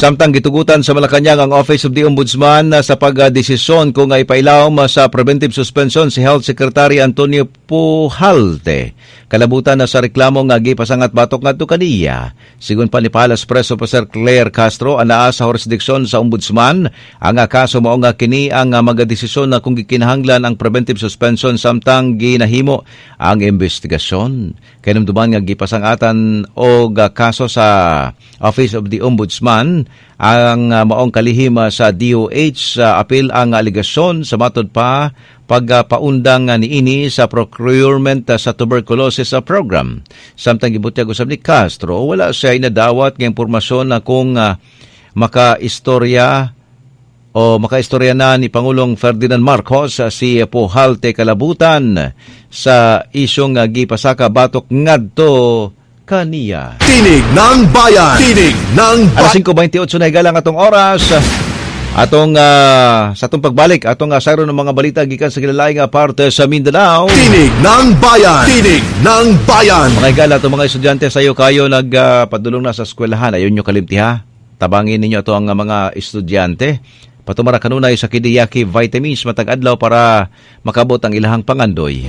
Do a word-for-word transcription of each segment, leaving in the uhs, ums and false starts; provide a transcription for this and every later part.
Samtang gitugutan sa Malacañang ang Office of the Ombudsman sa pagdesisyon kung ipailawom sa preventive suspension si Health Secretary Antonio Pujalte. Kalabutan na sa reklamo nga gipasangat batok ngadto kaniya. Sigon pa ni Palace Press Officer Claire Castro, anaa sa jurisdiksyon sa Ombudsman ang kaso, mao nga kini ang magadesisyon na kung gikinahanglan ang preventive suspension samtang ginahimo ang investigasyon. Kahinumduman nga gipasangatan og kaso sa Office of the Ombudsman ang uh, maong kalihim sa D O H sa apil ang alegasyon sa matod pa pagpaundang niini sa procurement sa tuberculosis program. Samtang gibutyag usab ni Castro, wala siya inadawat nga impormasyon na kung uh, makaistorya o makaistorya na ni Pangulong Ferdinand Marcos si Pujalte kalabutan sa isyong gipasaka batok ngadto kaniya. Tinig ng Bayan! Tinig ng Alas singko baynte otso na, higala, atong oras. Atong uh, sa atong pagbalik, atong uh, sayro ng mga balita gikan sa kilalaing nga parte sa Mindanao. Tinig ng Bayan! Tinig ng Bayan! Mga higala, atong mga estudyante sayo kayo nagpadulong uh, na sa eskwelahan. Ayaw nyo kalimti ha. Tabangin ninyo ato ang uh, mga estudyante. Patumara kanunay sa Kidiyaki Vitamins matag adlaw para makabot ang ilahang pangandoy.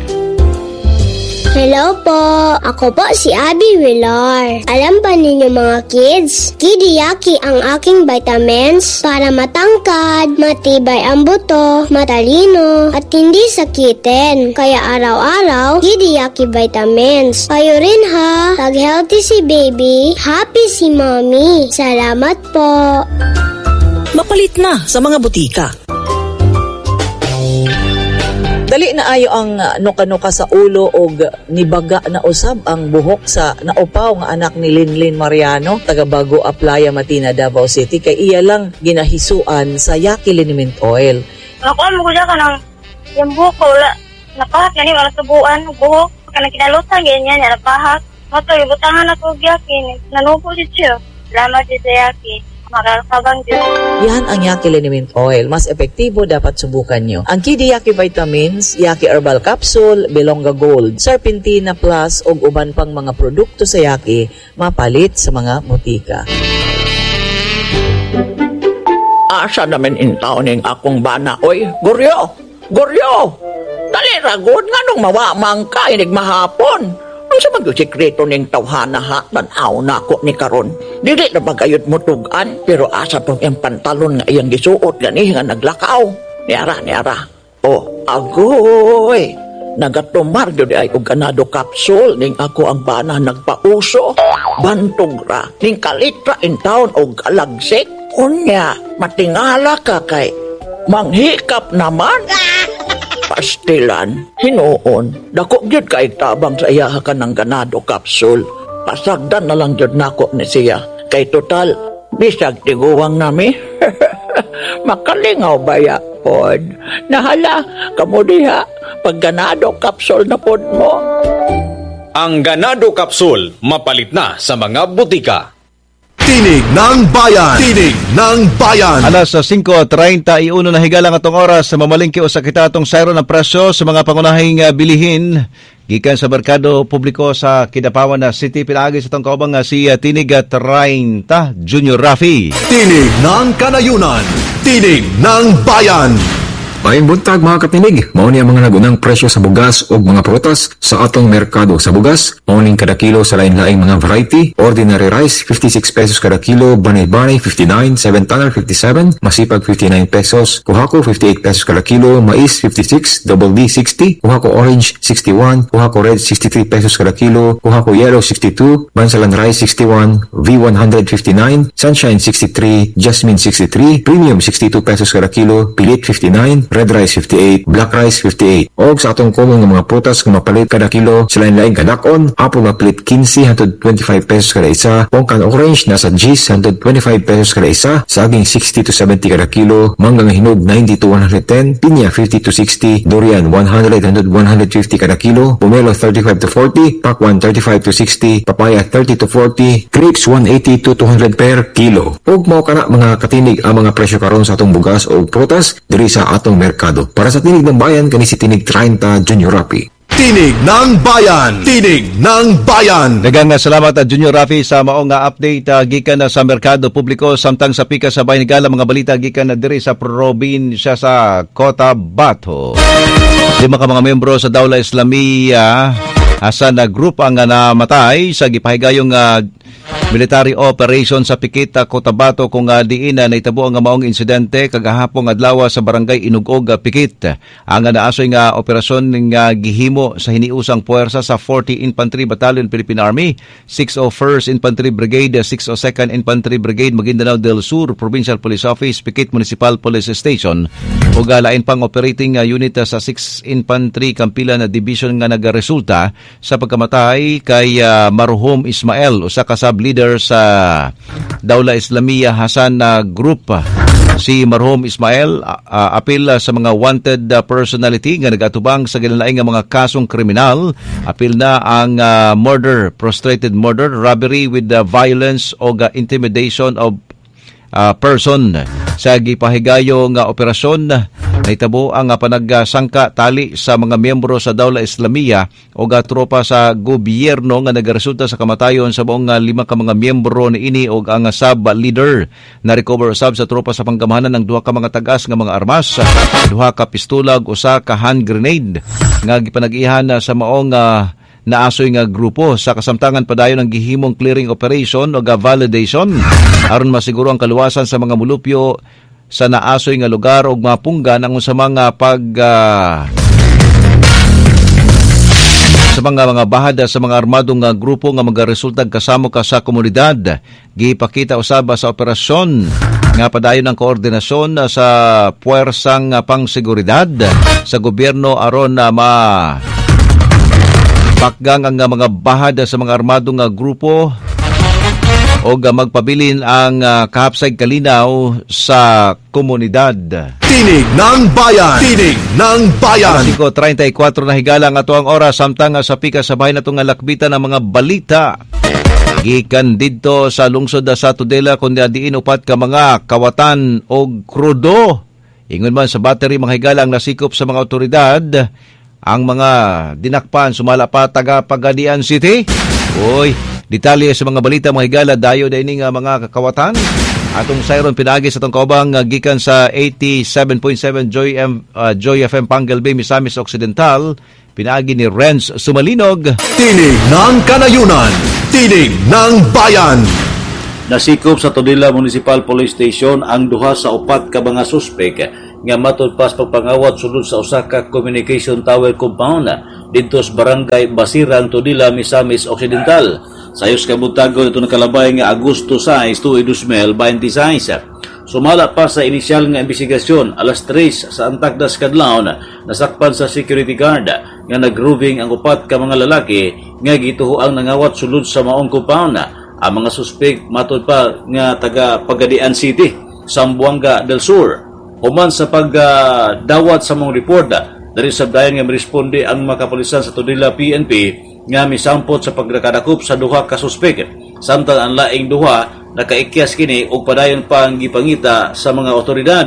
Hello po! Ako po si Abby Villar. Alam ba ninyo, mga kids? Kidiyaki ang aking vitamins para matangkad, matibay ang buto, matalino, at hindi sakitin. Kaya araw-araw, Kidiyaki vitamins. Kayo rin ha! Pag healthy si baby, happy si mommy. Salamat po! Mapalit na sa mga butika. Dali na ayo ang uh, nuka-nuka sa ulo og nibaga na usab ang buhok sa naupaw nga anak ni Linlin Mariano, taga Bago Aplaya, Matina, Davao City, kay iya lang ginahisuan sa Yaki Liniment Oil. Nakuha mo ko siya kanang yung buhok ko, wala. Napahak gani, wala subuan, buhok. Kanang kinalutan, ganyan, niya, napahak. Mato, ibutangan ako og Yaki. Nanubo siya. Salamat siya sa Yaki. Makakabang Diyos. Yan ang Yaki Liniment Oil. Mas epektibo, dapat subukan nyo. Ang Kidi Yaki Vitamins, Yaki Herbal Capsule, Belonga Gold, Serpentina Plus ug uban pang mga produkto sa Yaki mapalit sa mga butika. Asa naman intaon ning akong bana, oy? Guryo! Guryo! Dali ra gud, nganong mawa man ka inig mahapon? Unsa man gyud sekreto ning tawhana ha? Tan-aw na ako ni karon. Dili na ba gayud mo tugan, pero asa pong iyang pantalon nga iyang gisuot gani nga naglakaw? Niara, niara. Oh, agoy! Nagatumar gyud ay og Ganado capsule ning ako ang bana nagpauso. Bantog ra ning kalitra in town og alagsik. Unya, matingala ka kay manghikap naman. Pastilan, hinuon, dako gyud kay tabang sa iya ka ng Ganado capsule. Pasagdan na lang gyud nako ni siya. Kay total, bisag tiguwang nami. Makalingaw baya pod. Nahala, kamo diha, pag Ganado capsule na pod mo. Ang Ganado Capsule, mapalit na sa mga butika. Tinig ng Bayan! Tinig ng Bayan! Alas singko treinta y uno na, higala, atong oras sa mamalingki o sa kita atong sayro ng presyo sa mga pangunahing uh, bilihin gikan sa merkado publiko sa Kidapawan na City, pinaagi sa atong kaubang uh, si uh, Tinig uh, treinta Junior Rafi. Tinig ng Kanayunan! Tinig ng Bayan! Maayong buntag, mga katinig, mao ni ang mga nagunang presyo sa bugas o mga prutas sa atong merkado. Sa bugas, mao ning kada kilo sa lain-laing mga variety: ordinary rice fifty-six pesos kada kilo, banay-banay fifty-nine, seven tonner fifty-seven, masipag fifty-nine pesos, kuhako fifty-eight pesos kada kilo, mais fifty-six, double D sixty, kuhako orange sixty-one, kuhako red sixty-three pesos kada kilo, kuhako yellow sixty-two, bansalan rice sixty-one, V one hundred fifty-nine, sunshine sixty-three, jasmine sixty-three, premium sixty-two pesos kada kilo, pilit fifty-nine, red rice fifty-eight, black rice fifty-eight. Og sa atong common nga mga prutas nga mapalit kada kilo sa lain-laing kadakon, apple mapalit fifteen hangtod twenty-five pesos kada isa, pongkan orange nasa ten hangtod twenty-five pesos kada isa, saging sixty to seventy kada kilo, mangga nga hinog ninety to one hundred ten, pinya fifty to sixty, durian one hundred hangtod one hundred fifty kada kilo, pomelo thirty-five to forty, pakwan thirty-five to sixty, papaya thirty to forty, grapes one eighty to two hundred per kilo. Ug mao kana, mga katinig, ang mga presyo karon sa atong bugas o prutas diri sa atong merkado. Para sa Tinig ng Bayan, kani si Tinig treinta Junior Rapi. Tinig ng Bayan! Tinig ng Bayan! Daghang salamat at Junior Rafi sa mao nga update uh, gikan na sa merkado publiko samtang sa pika sa bahin higala mga balita gikan na diri sa probinsya sa Cotabato. Lima ka mga miyembro sa Dawla Islamia Hasan na group ang namatay sa gipahigayong uh, military operation sa Pikit, Cotabato kung uh, diin na naitabo ang maong insidente kagahapon adlaw sa barangay Inugog, Pikit. Ang naasoy nga operasyon nga gihimo sa hiniusang puwersa sa forty Infantry Battalion Philippine Army, six oh first Infantry Brigade, six oh second Infantry Brigade, Maguindanao del Sur Provincial Police Office, Pikit Municipal Police Station ug lain pang operating unit sa six Infantry Kampila na Division nga nagaresulta sa pagkamatay kay uh, Marhum Ismael, usa ka sub-leader sa Dawla Islamia Hasan na Group. Si Marhum Ismael uh, apil sa mga wanted personality nga nagatubang sa gilain nga mga kasong kriminal. Apil na ang uh, murder, prostrated murder, robbery with the violence o uh, intimidation of uh, person. Sa gipahigayo nga operasyon, naitabo ang panagsangka tali sa mga miyembro sa Dawla Islamia o tropa sa gobyerno nga nagaresulta sa kamatayon sa buong lima ka mga miyembro niini og ang sub-leader. Na-recover usab sa tropa sa panggamahanan ng duha ka mga tagas nga mga armas, duha ka pistola ug usa ka hand grenade nga gipanag-ihan sa maong uh, naasoy nga grupo. Sa kasamtangan padayon ang gihimong clearing operation o validation aron masiguro ang kaluwasan sa mga mulupyo sa naasoy nga lugar og mapunggan ang usa mga pag uh, sa mga mga bahada sa mga armadong nga grupo nga magaresultag kasamo ka sa komunidad. Gipakita usab sa operasyon nga padayon ang koordinasyon sa puwersang pangseguridad sa gobyerno aron na ma pakgang ang mga bahada sa mga armadong nga grupo o magpabilin ang uh, kahapsay kalinaw sa komunidad. Tinig ng Bayan! Tinig ng Bayan! singko treinta y kuwatro na higala ang ato ang oras samtang sa pika sa bahay natong lakbitan ang mga balita. Gikan didto sa lungsod sa Tudela kundi diin upat ka mga kawatan og krudo. Ingon man sa battery mga higala ang nasikop sa mga otoridad ang mga dinakpan sumala pa taga Pagadian City. Uy, detalye sa mga balita mga higala dayo dayni nga mga kakawatan. Atong sayron pinaagi sa atong kaubang uh, gikan sa eighty-seven point seven Joy, M, uh, Joy F M Panguil Bay, Misamis Occidental. Pinaagi ni Renz Sumalinog. Tinig ng Kanayunan, Tinig ng Bayan. Nasikop sa Tudela Municipal Police Station ang duha sa upat ka mga suspek nga matud pas pagpangawat sulod sa usa ka communication tower compound didto sa Barangay Basirang, Tudela, Misamis Occidental. Sayos kabuntagon ito nakalabay nga Agosto sais, dos mil twenty-six. Sumala pa sa inisyal nga investigasyon alas tres sa Antakdas kadlawon nasakpan sa security guard nga nagroving ang upat ka mga lalaki nga gituhoang nangawat sulod sa maong compound. Ang mga suspek matud pa nga taga Pagadian City, Zamboanga del Sur. Human sa pagdawat uh, sa mong report, dari sabdayan nga miresponde ang mga kapulisan sa Tudela P N P nga misampot sa pagkadakop sa duha ka suspek. Samtang ang laing duha nakaikyas kini og padayon pa ang gipangita sa mga otoridad.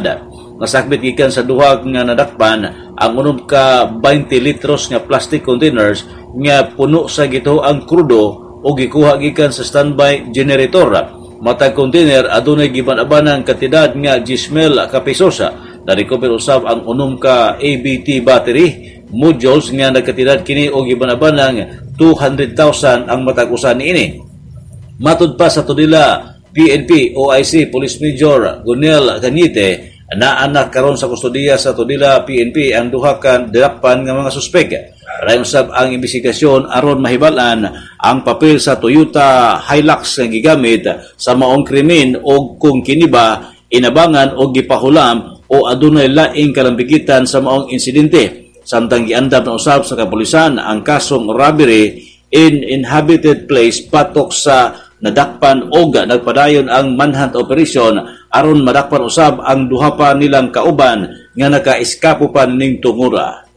Nasakbit gikan sa duha nga nadakpan ang unom ka twenty litros nga plastic containers nga puno sa gituoang krudo o gikuha gikan sa standby generator. Matag container adunay giban-abanang kantidad nga ten mil ka pesos. Narecover usab ang unom ka A B T battery modules nga nagkantidad kini og giban-abanang two hundred thousand ang matag usa niini. Matud pa sa Tudela P N P O I C Police Major Gunel Cañete, naanak karon sa kustodiya sa Tudela P N P ang duha ka dakpan nga mga suspek. Padayon usab ang investigasyon aron mahibal-an ang papel sa Toyota Hilux nga gigamit sa maong krimen og kung kini ba inabangan o gipahulam o adunay laing kalambigitan sa maong insidente. Samtang giandam na usab sa kapulisan ang kasong robbery in inhabited place patok sa nadakpan og nagpadayon ang manhunt operation aron madakpan usab ang duha pa nilang kauban nga nakaeskapo pa ning tungura.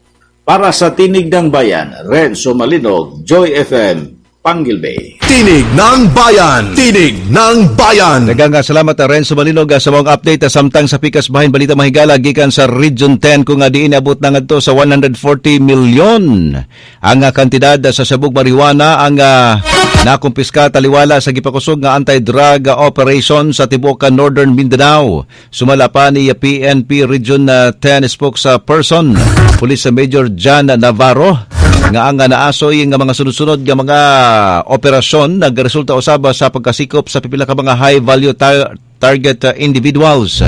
Para sa Tinig ng Bayan, Renzo Malinog, Joy F M, Panguil Bay. Tinig ng Bayan! Tinig ng Bayan! Daghang salamat, Renzo Malinog, sa mga update samtang sa pikas bahin balita, mahigala, gikan sa Region ten kung nga diin abot na ngadto sa one hundred forty million ang kantidad sa sabog marijuana ang uh, nakumpiska taliwala sa gipakusog nga anti-drug operation sa tibuok Northern Mindanao. Sumala pa ni P N P Region ten spokesperson Police Major John Navarro nga ang naasoy nga mga sunod-sunod nga mga operasyon nagresulta usab sa pagkasikop sa pipila ka mga high value tar- target uh, individuals.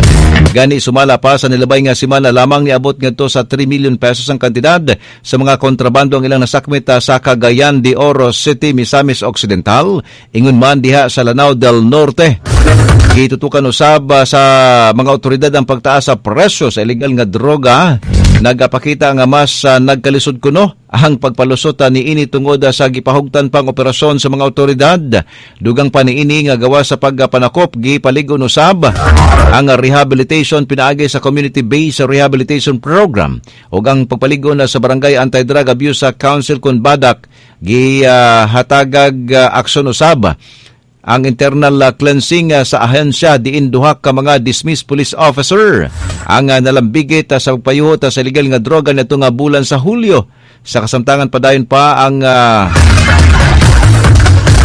Gani sumala pa sa nilabay nga semana lamang, niabot ngadto sa three million pesos ang kantidad sa mga kontrabando ang ilang nasakmit uh, sa Cagayan de Oro City, Misamis Occidental, ingon man diha sa Lanao del Norte. Gitutukan usab uh, sa mga otoridad ang pagtaas sa presyo sa illegal nga droga. Nagapakita nga mas uh, nagkalisod kuno ang pagpalusot uh, niini tungod uh, sa gipahugtan pang operasyon sa mga otoridad. Dugang pa niini nga gawa sa pagpanakop, gipaligon usab ang rehabilitation pinaagi sa community-based rehabilitation program ug ang pagpaligon sa Barangay Anti-Drug Abuse Council kon BADAC. Gihatagag uh, aksyon usab ang internal uh, cleansing uh, sa ahensya diin duha ka mga dismissed police officer ang uh, nalambigit uh, sa pagpayuhot uh, sa illegal nga droga nito nga bulan sa Hulyo. Sa kasamtangan, padayon pa ang uh,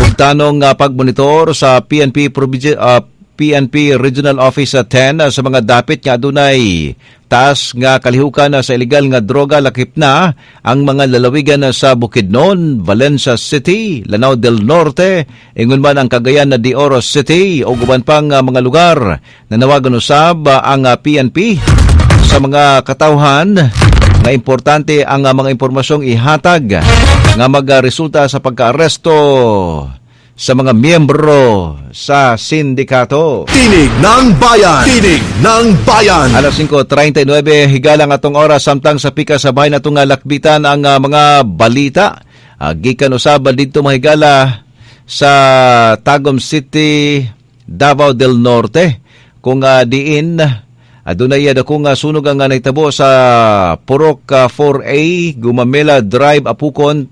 hugtanong uh, pagmonitor sa P N P uh, P N P Regional Office ten uh, sa mga dapit nga adunay taas nga kalihukan sa illegal nga droga, lakip na ang mga lalawigan sa Bukidnon, Valencia City, Lanao del Norte, ingon man ang Cagayan de Oro City o uban pang mga lugar. Nanawagan usab ang P N P sa mga katawhan nga importante ang mga impormasyong ihatag nga magresulta sa pagkaaresto sa mga miyembro sa sindikato. Tinig ng Bayan! Tinig ng Bayan! Alas singko trentay nuwebe, higalang atong oras, samtang sa pika sa bahin atong lakbitan ang uh, mga balita. Uh, gikan usab didto, mahigala, sa Tagum City, Davao del Norte kung uh, diin adunay dako nga sunog ang nahitabo sa Purok four A, Gumamela Drive, Apukon,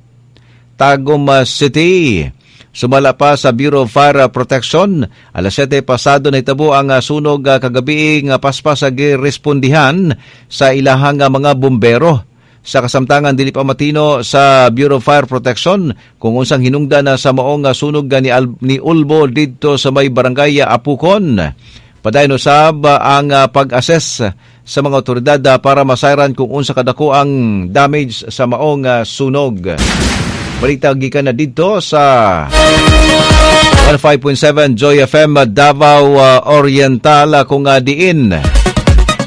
Tagum City. Sumala pa sa Bureau of Fire Protection, alas siyete pasado nahitabo ang sunog kagabi nga paspas sa girespondihan sa ilahang mga bumbero. Sa kasamtangan, dili pa matino sa Bureau of Fire Protection kung unsang hinungdan na sa maong sunog ni, Al- ni Ulbo didto sa may barangay Apukon. Padayon usab ang pag-assess sa mga otoridad para masayran kung unsa kadako ang damage sa maong sunog. Balita gikan na didto sa one oh five point seven Joy F M Davao Oriental kung diin